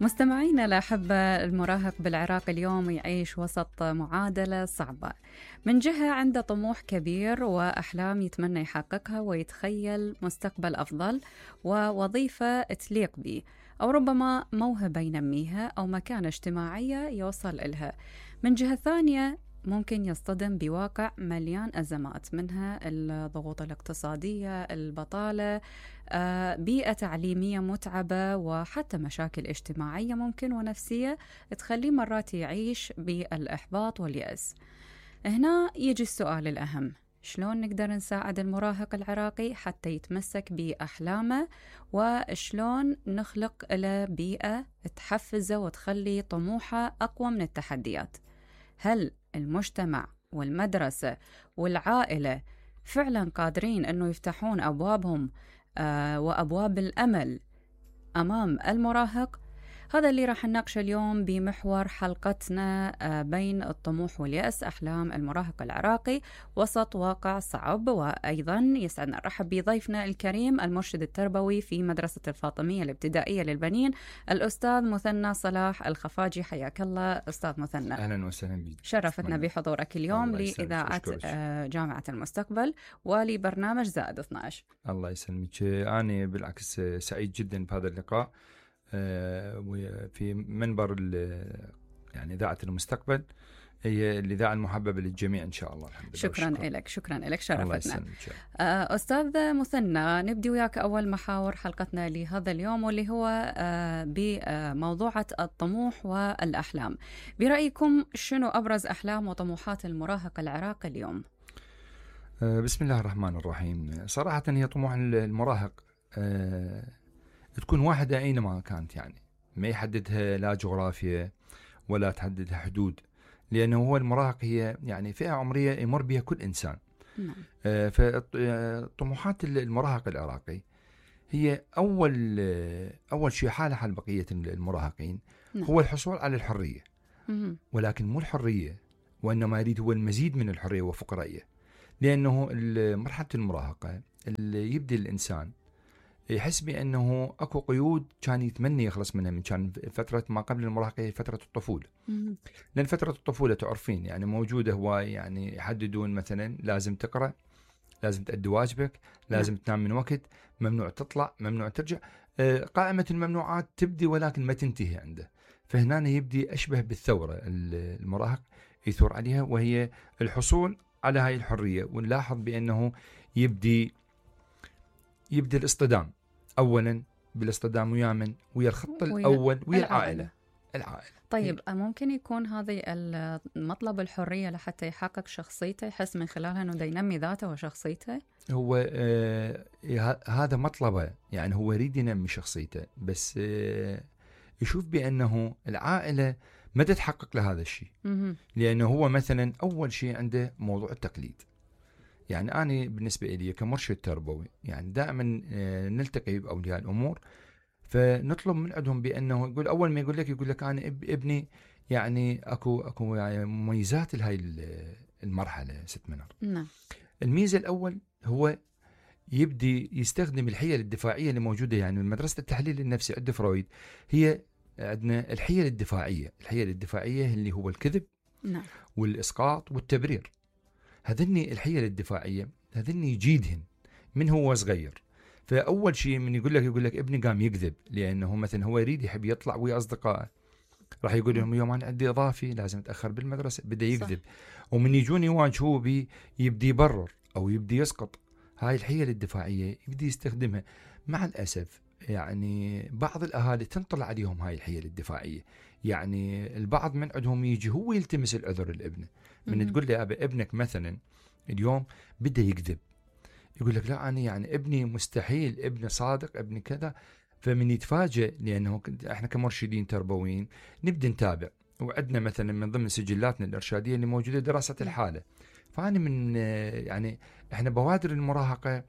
مستمعينا الأحبة، المراهق بالعراق اليوم يعيش وسط معادلة صعبة. من جهة عنده طموح كبير وأحلام يتمنى يحققها ويتخيل مستقبل أفضل ووظيفة تليق به، أو ربما موهبة ينميها أو مكانة اجتماعية يوصل إلها. من جهة ثانية ممكن يصطدم بواقع مليان أزمات، منها الضغوط الاقتصادية، البطالة، بيئة تعليمية متعبة، وحتى مشاكل اجتماعية ممكن ونفسية تخليه مرات يعيش بالإحباط واليأس. هنا يجي السؤال الأهم: شلون نقدر نساعد المراهق العراقي حتى يتمسك بأحلامه، وشلون نخلق له بيئة تحفزه وتخلي طموحه أقوى من التحديات؟ هل المجتمع والمدرسة والعائلة فعلا قادرين أنه يفتحون أبوابهم وأبواب الأمل أمام المراهق؟ هذا اللي راح نناقشه اليوم بمحور حلقتنا بين الطموح واليأس، أحلام المراهق العراقي وسط واقع صعب. وأيضا يسعدنا نرحب بضيفنا الكريم المرشد التربوي في مدرسة الفاطمية الابتدائية للبنين، الأستاذ مثنى صلاح الخفاجي. حياك الله أستاذ مثنى. أهلا وسهلا بك. شرفتنا بحضورك اليوم لإذاعة جامعة المستقبل ولبرنامج زائد 12. الله يسلمك. أنا بالعكس سعيد جدا بهذا اللقاء في منبر يعني إذاعة المستقبل، هي الإذاعة المحببة للجميع إن شاء الله. الحمد لله. شكرا لك شرفتنا. أستاذ مثنى، نبدي وياك أول محاور حلقتنا لهذا اليوم، واللي هو بموضوعة الطموح والأحلام. برأيكم شنو أبرز أحلام وطموحات المراهق العراقي اليوم؟ بسم الله الرحمن الرحيم. صراحة هي طموح المراهق تكون واحدة أينما كانت، يعني ما يحددها لا جغرافيا ولا تحددها حدود، لأنه هو المراهق هي يعني فئة عمرية يمر بها كل إنسان. فطموحات المراهق العراقي هي أول شيء حال بقية المراهقين هو الحصول على الحرية، ولكن مو الحرية، وإنما يريد هو المزيد من الحرية وفقرية. لأنه مرحلة المراهقة اللي يبدأ الإنسان يحس بأنه أكو قيود كان يتمنى يخلص منها من كان فترة ما قبل المراهقة، فترة الطفولة. لأن فترة الطفولة تعرفين يعني موجودة هواي، يعني يحددون مثلا لازم تقرأ، لازم تأدي واجبك، لازم تنام من وقت، ممنوع تطلع، ممنوع ترجع. قائمة الممنوعات تبدي ولكن ما تنتهي عنده. فهنا يبدي أشبه بالثورة المراهق يثور عليها، وهي الحصول على هاي الحرية. ونلاحظ بأنه يبدي الاصطدام أولا بالاصطدام ويا الخط الأول ويا العائلة. طيب ممكن يكون هذه المطلب الحرية لحتى يحقق شخصيته، يحس من خلالها أنه ينمي ذاته وشخصيته؟ هو هذا مطلبه، يعني هو يريد ينمي شخصيته، بس يشوف بأنه العائلة ما تتحقق له هذا الشيء. لأنه هو مثلا أول شيء عنده موضوع التقليد. يعني أنا بالنسبة لي كمرشد تربوي يعني دائما نلتقي بأولياء الأمور، فنطلب من عندهم بأنه يقول أول ما يقول لك أنا ابني يعني أكو يعني مميزات لهاي المرحلة ست منار. نعم. الميزة الأول هو يبدي يستخدم الحيل الدفاعية اللي موجودة، يعني من مدرسة التحليل النفسي عند فرويد هي عندنا الحيل الدفاعية اللي هو الكذب، نعم، والإسقاط والتبرير. هذني الحيل الدفاعية هذني يجيدهن من هو صغير. فأول شيء من يقول لك ابني قام يكذب، لأنه مثلا هو يريد يحب يطلع ويا أصدقائه، راح يقول لهم يوم أنا عندي إضافي لازم أتأخر بالمدرسة، بدأ يكذب. ومن يجوني يواجهوه يبدي يبرر أو يبدي يسقط. هاي الحيل الدفاعية يبدي يستخدمها. مع الأسف يعني بعض الأهالي تنطلع عليهم هاي الحيل الدفاعية. يعني البعض من عندهم يجي هو يلتمس العذر لابنه. من تقول لي أبا ابنك مثلا اليوم بدأ يكذب، يقول لك لا أنا يعني ابني مستحيل، ابني صادق، ابني كذا. فمن يتفاجئ، لأنه احنا كمرشدين تربويين نبدأ نتابع، وعندنا مثلا من ضمن سجلاتنا الإرشادية اللي موجودة دراسة الحالة. فأنا من يعني احنا بوادر المراهقة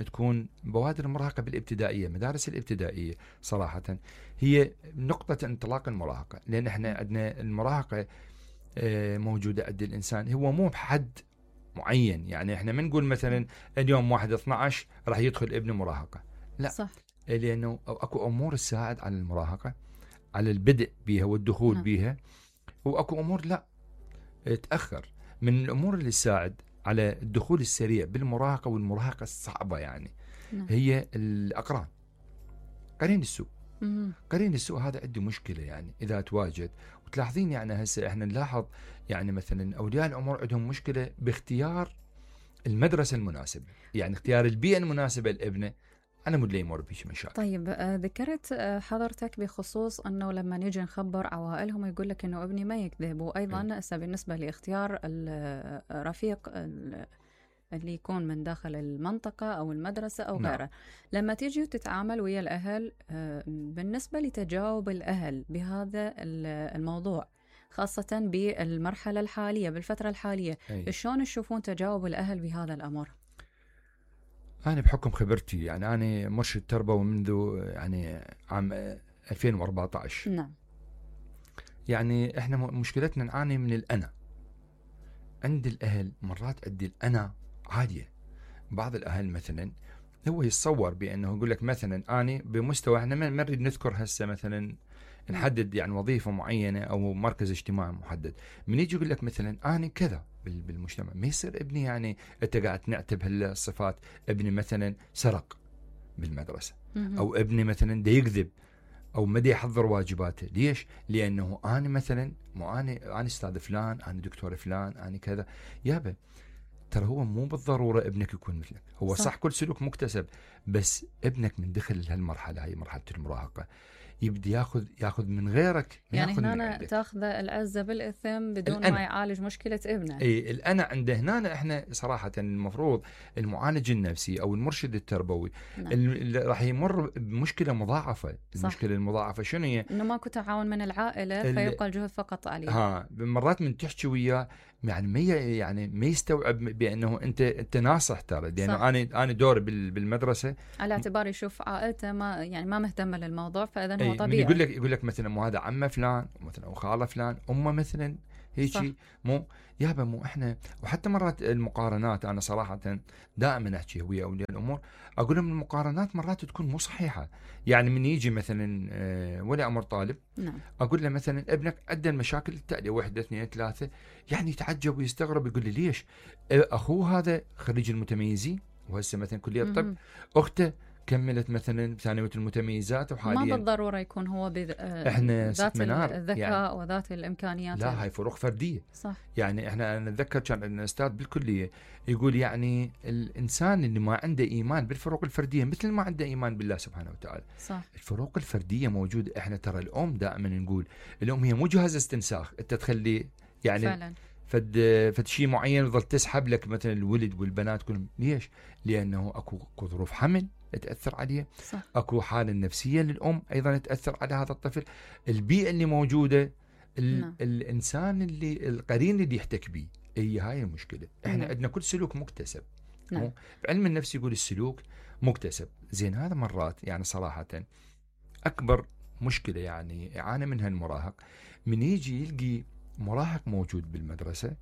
تكون بوادر المراهقة بالابتدائية، مدارس الابتدائية صراحة هي نقطة انطلاق المراهقة. لأن احنا عندنا المراهقة موجودة عند الإنسان، هو مو بحد معين. يعني احنا ما نقول مثلا اليوم 1/12 راح يدخل ابن مراهقة، لا صح. لأنه أكو أمور تساعد على المراهقة، على البدء بها والدخول نعم. بها، واكو امور لا تاخر. من الامور اللي تساعد على الدخول السريع بالمراهقه والمراهقه الصعبه يعني نعم. هي الاقران، قرين السوء. مهم. قرين السوء هذا عنده مشكله يعني اذا تواجد، وتلاحظين يعني هسه احنا نلاحظ يعني مثلا اولياء الامور عندهم مشكله باختيار المدرسه المناسبه، يعني اختيار البيئه المناسبه لابنه على مود لا يمر بهيك مشاكل. طيب ذكرت حضرتك بخصوص انه لما نيجي نخبر عوائلهم يقول لك انه ابني ما يكذب، وايضا هسه بالنسبه لاختيار الرفيق اللي يكون من داخل المنطقة أو المدرسة أو نعم. غيره، لما تيجي وتتعامل ويا الأهل بالنسبة لتجاوب الأهل بهذا الموضوع خاصة بالمرحلة الحالية بالفترة الحالية، شلون تشوفون تجاوب الأهل بهذا الأمر؟ أنا بحكم خبرتي يعني أنا مرشد تربوي منذ يعني عام 2014. نعم. يعني إحنا مشكلتنا نعاني من الأنا عند الأهل. مرات عندي الأنا عالية. بعض الأهل مثلا هو يتصور بأنه يقول لك مثلا أنا بمستوى، إحنا ما نريد نذكر هسه مثلا نحدد يعني وظيفة معينة أو مركز اجتماعي محدد، من يجي يقول لك مثلا أنا كذا بالمجتمع، ما يصير ابني يعني أنت قاعد نعتب هالصفات. ابني مثلا سرق بالمدرسة، أو ابني مثلا دا يكذب، أو ما دا يحضر واجباته. ليش؟ لأنه أنا مثلا أنا أستاذ فلان، أنا دكتور فلان، أنا كذا. يابا ترى هو مو بالضرورة ابنك يكون مثلك. هو صح كل سلوك مكتسب، بس ابنك من دخل هالمرحلة، هاي مرحلة المراهقة، يبدي ياخذ من غيرك، يعني هنا تاخذ العزة بالإثم بدون ما يعالج مشكلة ابنه. اي الأنا عنده هنا. احنا صراحة المفروض المعالج النفسي او المرشد التربوي راح يمر بمشكلة مضاعفة. المشكلة المضاعفة شنو هي؟ انه ماكو تعاون من العائلة فيبقى الجهد فقط عليه. مرات من تحكي وياه يعني ما يستوعب بانه انت ناصح ترى، لانه انا دوري بالمدرسه على اعتبار يشوف عائلته ما مهتمه للموضوع، فاذا هو طبيعي. يقول لك مثلا مو هذا عمه فلان مثلا او خاله فلان، امه مثلا هيك. مو يابا مو احنا. وحتى مرات المقارنات، انا صراحه دائما احكي ويا اولياء الامور اقول لهم المقارنات مرات تكون مو صحيحه. يعني من يجي مثلا ولي امر طالب، نعم، اقول له مثلا ابنك عنده المشاكل التاليه 1 2 3، يعني يتعجب ويستغرب يقول لي ليش؟ اخوه هذا خريج المتميزين وهسه مثلا كليه الطب، اخته كملت مثلا ثانويه المتميزات وحاليا ما بالضروره يكون هو احنا ذات الذكاء يعني وذات الامكانيات. لا هاي فروق فرديه. صح. يعني احنا نتذكر كان عندنا استاذ بالكليه يقول يعني الانسان اللي ما عنده ايمان بالفروق الفرديه مثل ما عنده ايمان بالله سبحانه وتعالى. صح. الفروق الفرديه موجوده. احنا ترى الام دائما نقول الام هي مو جهاز استنساخ انت تخلي يعني فعلا فد شيء معين يظل تسحب لك مثلا الولد والبنات كلهم. ليش؟ لانه اكو ظروف حمل تأثر عليه. صح. اكو حالة نفسية للأم أيضا تأثر على هذا الطفل. البيئة اللي موجودة، الإنسان اللي القرين اللي يحتك به، هي هاي المشكلة. احنا عندنا كل سلوك مكتسب. بعلم النفس يقول السلوك مكتسب. زين هذا مرات يعني صراحة أكبر مشكلة يعني يعاني منها المراهق، من يجي يلقي مراهق موجود بالمدرسة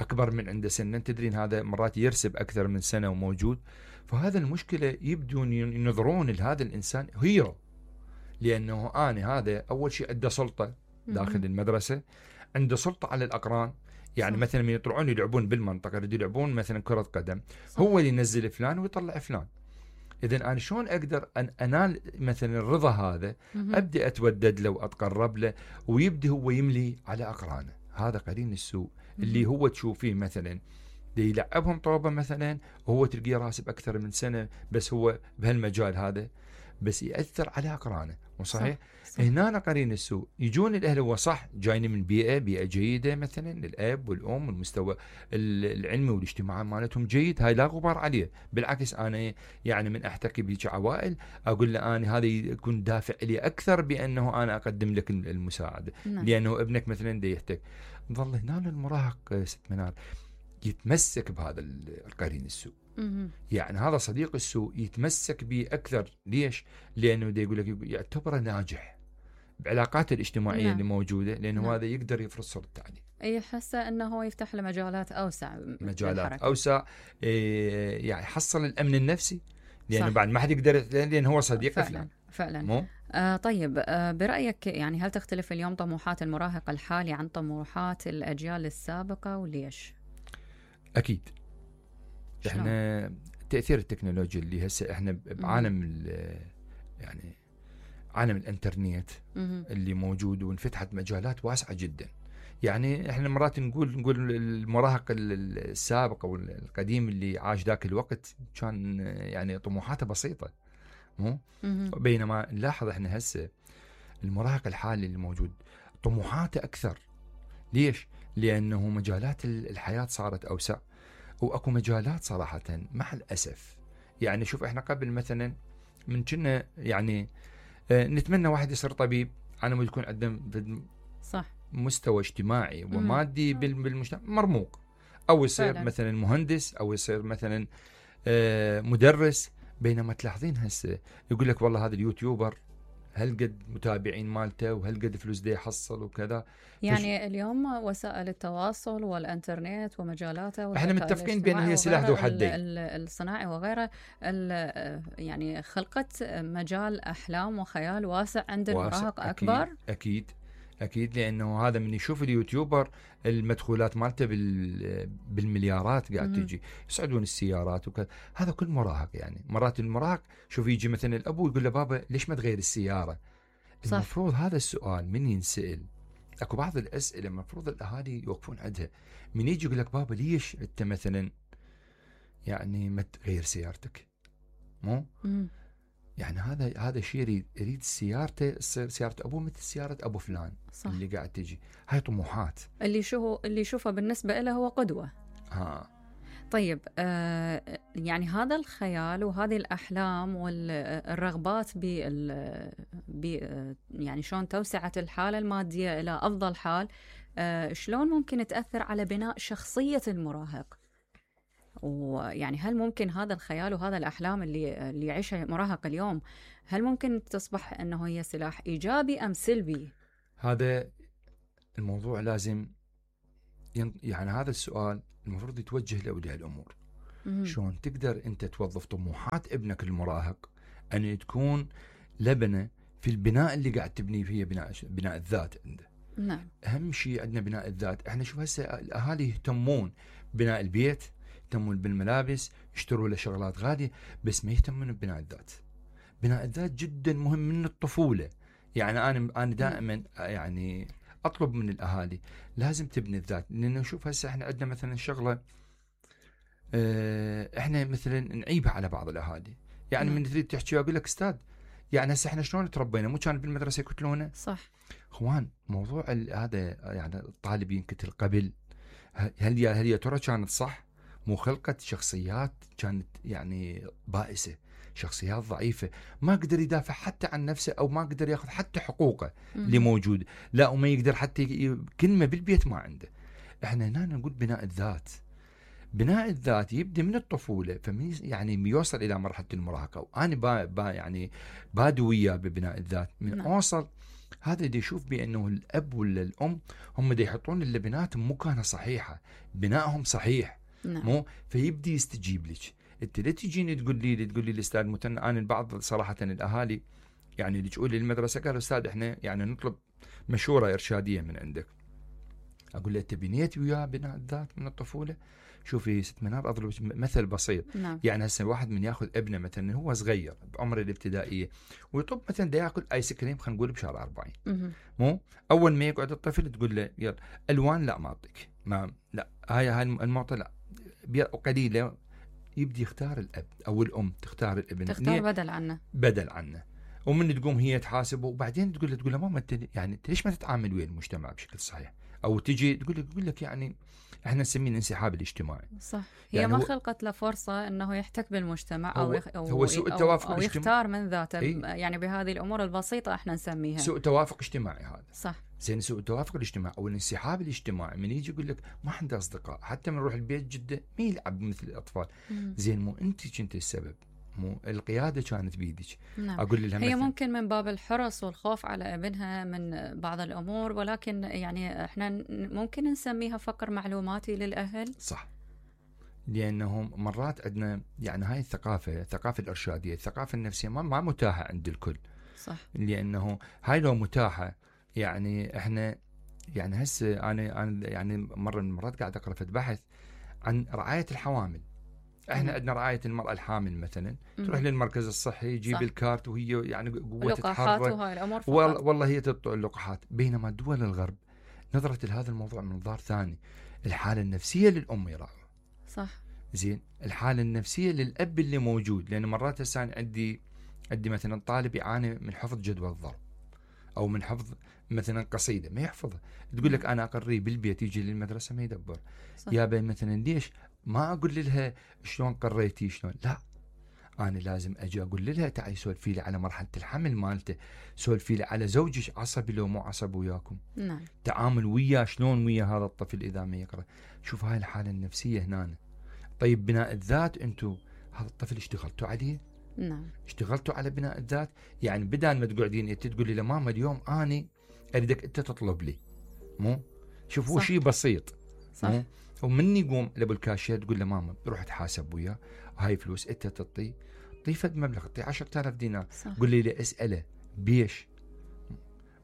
أكبر من عنده سنة. تدرين هذا مرات يرسب أكثر من سنة وموجود. فهذا المشكلة يبدون ينظرون لهذا الإنسان هيرو، لأنه أنا هذا أول شيء عنده سلطة داخل المدرسة، عنده سلطة على الأقران. يعني صح. مثلا من يطلعون يلعبون بالمنطقة يلعبون مثلا كرة قدم، صح. هو اللي ينزل فلان ويطلع فلان. إذن أنا شلون أقدر أن أنال مثلا الرضا هذا؟ أبدأ أتودد له وأتقرب له، ويبدأ هو يملي على أقرانه. هذا قرين السوء اللي هو تشوفيه مثلا دي يلعبهم طوبة مثلا، وهو تلقيه راسب أكثر من سنة بس هو بهالمجال هذا، بس يأثر على أقرانه. وصحيح صح. هنا قرين السوء يجون الأهل، هو صح جايين من بيئة جيدة مثلا، الأب والأم والمستوى العلمي والاجتماعي مالتهم جيد، هاي لا غبار عليه. بالعكس أنا يعني من أحتكي بيك عوائل أقول له أنا هذا يكون دافع لي أكثر بأنه أنا أقدم لك المساعدة. لأنه ابنك مثلا دا يحتك، ظل هنا المراهق ست منال يتمسك بهذا القرين السوء. يعني هذا صديق السوء يتمسك به أكثر. ليش؟ لأنه دا يقول لك يعتبره ناجح بعلاقاته الاجتماعية اللي موجودة، لأنه هذا يقدر يفرض صورة التعليم. يحس أنه هو يفتح له مجالات أوسع، يعني يحصل الأمن النفسي، لأنه بعد ما حد يقدر، لأن هو صديق فعلا. فلان. طيب، برأيك يعني هل تختلف اليوم طموحات المراهق الحالي عن طموحات الأجيال السابقة وليش؟ اكيد. شلون؟ احنا تاثير التكنولوجيا اللي هسه احنا بعالم يعني عالم الانترنت اللي موجود، وانفتحت مجالات واسعه جدا. يعني احنا مرات نقول المراهق السابق او القديم اللي عاش ذاك الوقت كان يعني طموحاته بسيطه، مو بينما نلاحظ احنا هسه المراهق الحالي اللي موجود طموحاته اكثر. ليش؟ لانه مجالات الحياه صارت اوسع، واكو مجالات صراحه مع الاسف. يعني شوف احنا قبل مثلا من كنا يعني نتمنى واحد يصير طبيب على ما يكون عنده صح مستوى اجتماعي ومادي بالمجتمع مرموق، او يصير فعلا. مثلا مهندس، او يصير مثلا مدرس. بينما تلاحظين هسه يقول لك والله هذا اليوتيوبر هل قد متابعين مالته وهل قد فلوس ده يحصل وكذا. يعني اليوم وسائل التواصل والانترنت ومجالاته احنا متفقين بان هي سلاح ذو حدين، الصناعي وغيره، يعني خلقت مجال احلام وخيال واسع عند المراهق اكبر. اكيد لانه هذا من يشوف اليوتيوبر المدخولات مالته بالمليارات قاعد تجي، يصعدون السيارات وكذا. هذا كل مراهق. يعني مرات المراهق شوف يجي مثلا الابو يقول له بابا ليش ما تغير السياره؟ صح. المفروض هذا السؤال من ينسأل. اكو بعض الاسئله المفروض الاهالي يوقفون عندها. من يجي يقول لك بابا ليش انت مثلا يعني ما تغير سيارتك؟ مو يعني هذا شيء يريد سيارته تصير سياره ابوه مثل سياره ابو فلان. صح. اللي قاعد تجي هاي طموحات اللي يشوفه بالنسبه له هو قدوه. طيب، يعني هذا الخيال وهذه الأحلام والرغبات يعني شلون توسعت الحالة المادية إلى أفضل حال، شلون ممكن تأثر على بناء شخصية المراهق؟ ويعني هل ممكن هذا الخيال وهذا الأحلام اللي يعيشها المراهق اليوم، هل ممكن تصبح أنه هي سلاح إيجابي أم سلبي؟ هذا الموضوع لازم يعني هذا السؤال المفروض يتوجه لأولياء الأمور. شلون تقدر أنت توظف طموحات ابنك المراهق أن تكون لبنة في البناء اللي قاعد تبني فيه بناء الذات عنده. نعم. أهم شيء عندنا بناء الذات. احنا شوف هسه الأهالي يهتمون بناء البيت، يهتمون بالملابس، يشتروا له شغلات غالية، بس ما يهتمون ببناء الذات. بناء الذات جدا مهم من الطفولة. يعني أنا دائما يعني أطلب من الأهالي لازم تبني الذات. لأنه نشوف هسه إحنا عندنا مثلا شغلة إحنا مثلا نعيبها على بعض الأهالي. يعني من تريد تحكي أقول لك أستاذ يعني هسه إحنا شلون تربينا؟ مو كان بالمدرسة يقتلونا؟ صح. إخوان موضوع هذا يعني الطالب ينقتل قبل، هل يا ترى كانت صح؟ مو خلقت شخصيات كانت يعني بائسة، شخصيات ضعيفة، ما قدر يدافع حتى عن نفسه، أو ما قدر يأخذ حتى حقوقه اللي موجود، لا وما يقدر حتى كلمة بالبيت ما عنده. احنا هنا نقول بناء الذات. بناء الذات يبدأ من الطفولة، يعني يوصل إلى مرحلة المراهقة. وأنا يعني بادو وياه ببناء الذات من أوصل هذا دي يشوف بأنه الأب ولا الأم هم دي يحطون اللبنات مكانها صحيحة، بنائهم صحيح. مو فيبدي يستجيب لك. انت لا تجيني تقول لي الاستاذ متن. انا البعض صراحه الاهالي يعني اللي تقول لي المدرسه قالوا استاذ احنا يعني نطلب مشوره ارشاديه من عندك. اقول له انت بنيت وياه بناء الذات من الطفوله؟ شوفي ست منار اضرب مثل بسيط. يعني هسه واحد من ياخذ ابنه مثلا هو صغير بعمر الابتدائيه ويطلب مثلا دا ياكل ايس كريم خلينا نقول بشهر 40. مو اول ما يقعد الطفل تقول له يلا الوان لا ما اعطيك، ما لا هاي المعطى لا قليله. يبدي يختار الاب او الام تختار الابن، تختار بدل عنه. ومن تقوم هي تحاسبه، وبعدين تقول له ماما انت يعني ليش ما تتعامل ويا المجتمع بشكل صحيح؟ او تجي تقول لك يعني احنا نسميه الانسحاب الاجتماعي. صح. هي يعني ما خلقت له فرصه انه يحتك بالمجتمع هو سوء التوافق أو يختار من ذاته. يعني بهذه الامور البسيطه احنا نسميها سوء توافق اجتماعي. هذا صح. زين سوء التوافق الاجتماعي او الانسحاب الاجتماعي. من يجي يقول لك ما عنده اصدقاء، حتى من نروح البيت جده ما يلعب مثل الاطفال. زين مو انت كنت السبب، مو القياده كانت بيدك. اقول لها هي ممكن من باب الحرص والخوف على ابنها من بعض الامور، ولكن يعني احنا ممكن نسميها فقر معلوماتي للاهل. صح. لانهم مرات عندنا يعني هاي الثقافه الارشاديه، الثقافه النفسيه ما متاحه عند الكل. صح. لانه هاي لو متاحه، يعني احنا يعني هسه انا يعني مره من المرات قاعد اقرا في بحث عن رعايه الحوامل. احنا عندنا رعايه المراه الحامل مثلا، تروح للمركز الصحي يجيب الكارت وهي يعني قوه تتحرك وهاي الامور والله هي تطلع اللقاحات. بينما دول الغرب نظرت لهذا الموضوع من منظار ثاني، الحاله النفسيه للام يراعوا. صح. زين، الحاله النفسيه للاب اللي موجود، لان مرات هسه عندي مثلا طالب يعاني من حفظ جدول الضرب او من حفظ مثلا قصيده ما يحفظها، تقول لك انا اقريه بالبيت يجي للمدرسه ما يدبر. يابا مثلا ليش ما اقول لها شلون قريتي شلون؟ لا، انا لازم اجي اقول لها تعي سولفي لي على مرحله الحمل مالته، سولفي لي على زوجك عصبي لو مو عصبي وياكم، نعم، تعامل وياه شلون ويا هذا الطفل اذا ما يقرا. شوف هاي الحاله النفسيه هنا. طيب بناء الذات، انتم هذا الطفل اشتغلتوا عليه؟ نعم، اشتغلتوا على بناء الذات؟ يعني بدال ما تقعدين انت تقولي له ماما اليوم اني اريدك انت تطلب لي، مو شوف هو شيء بسيط، صح. ومن يقوم لابو الكاشير تقول له ماما بروح تحاسب وياه، هاي فلوس انت تعطيه، فد مبلغ، تعطيه 10,000 دينار، قول لي اساله بيش،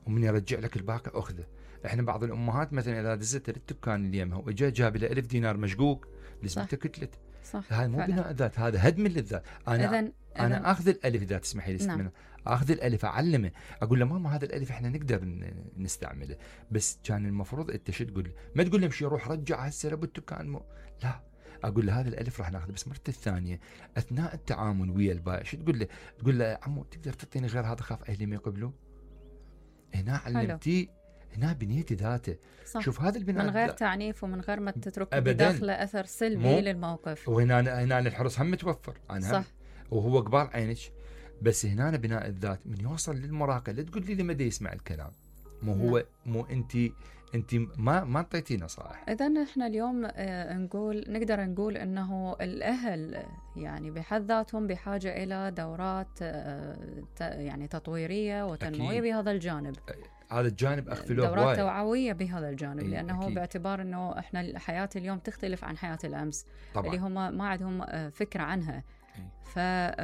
ومن يرجع لك الباقي اخذه. احنا بعض الامهات مثلا اذا دزت الدكان اللي يمها واجا جاب له 1000 دينار مشقوق لزمته كتلت. صح. هذا مو بناء الذات، هذا هدم للذات. انا اخذ الالف اذا تسمحي لي. نعم. اخذ الالف اعلمه، اقول له ماما هذا الالف احنا نقدر نستعمله، بس كان المفروض انت شو تقول له؟ ما تقول له امشي روح رجع هسه لابو الدكان، لا، اقول له هذا الالف راح ناخذه، بس مرته الثانيه اثناء التعامل ويا البائع شو تقول له؟ تقول له عمو تقدر تعطيني غير هذا، خاف اهلي ما يقبلوه. هنا علمتي، هنا بنيتي ذاته. صح. شوف هذا البناء من غير تعنيف ومن غير ما تترك أبداً بداخله اثر سلبي للموقف. وهنا الحرص هم متوفر، صح. وهو قبال عينك. بس هنا بناء الذات من يوصل للمراهقه، لا تقول لي لما دا يسمع الكلام، مو هو مو انت ما اعطيتي نصائح. اذا احنا اليوم نقدر نقول انه الاهل يعني بحد ذاتهم بحاجه الى دورات يعني تطويريه وتنمويه بهذا الجانب. هذا الجانب اغفلوه، دورات توعويه بهذا الجانب، لانه أكيد. باعتبار انه احنا حياه اليوم تختلف عن حياه الامس، طبعا. اللي هم ما عندهم فكره عنها. ف